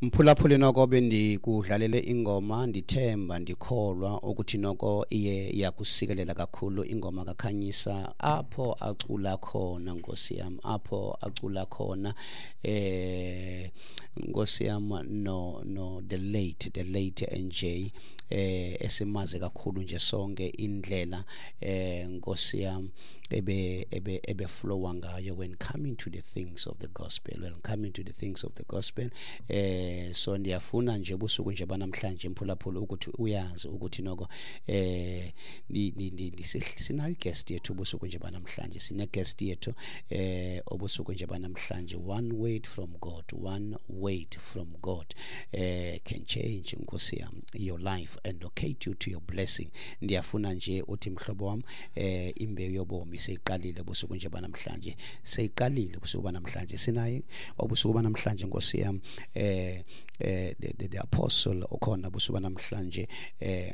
Mphulaphuli, noko bendikudlalele ingoma, ndithemba ndikholwa ukuthi noko iye yakusikelela kakhulu ingoma kaKhanyisa apho acula khona, nkosi yam, apho acula khona nkosi yam, no the late NJ, esimaze kakhulu nje sonke, indlela nkosi yam ebe flowa ngayo when coming to the things of the gospel, when coming to the things of the gospel. So ndiyafuna nje ubusuku nje banamhlanje, mphulaphula, ukuthi uyazi ukuthi noko sinayo guest yethu ubusuku nje banamhlanje, sine guest yethu obusuku nje banamhlanje. One word from God, one word from God can change, nkosi yam, your life and locate you to your blessing. Ndiyafuna nje uthi, mhlobo wam, imbewu yobomi seyiqalile ubusuku nje banamhlanje, seyiqalile ubusuku banamhlanje. Sinaye obusuku banamhlanje, nkosi yam, the apostle ukhona ubusuku banamhlanje,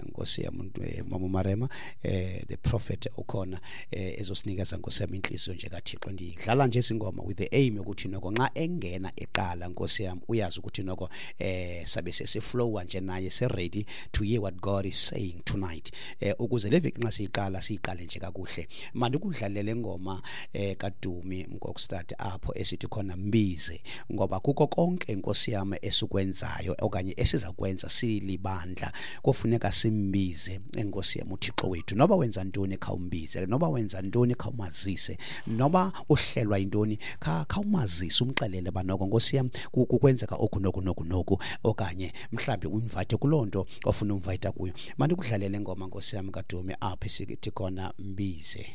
nkosi yam, mama Marema, the prophet ukhona ezosinikeza, nkosi yam, inhliziyo nje kaThixo. Ndidlala nje izingoma with the aim yokuthi noko nxa engena eqala, nkosi yam, uyazi ukuthi noko sabe sesiflowa nje naye, se ready to hear what God is saying tonight, ukuze le veki nxa siyiqala, siyiqale nje kakuhle. Mandikudlalele ingoma kaDumi Mkokstad apho esithi khona "Mbize", ngoba kuko konke, nkosi yam, esikwenzayo okanye esiza kwenza silibandla, kufuneka simbize enkosi yam uThixo wethu. Noba wenza ntoni, khawumbize. Noba wenza ntoni, khawumazise. Noba uhlelwa yintoni, khawumazise, umxelele banoko, nkosi yam, kwenzeka oku noku noku noku, okanye mhlawumbi uinvite kuloo nto ofuna umvayita kuyo. Mandikudlalele ingoma, nkosi yam, kaDumi apho isithi khona "Mbize".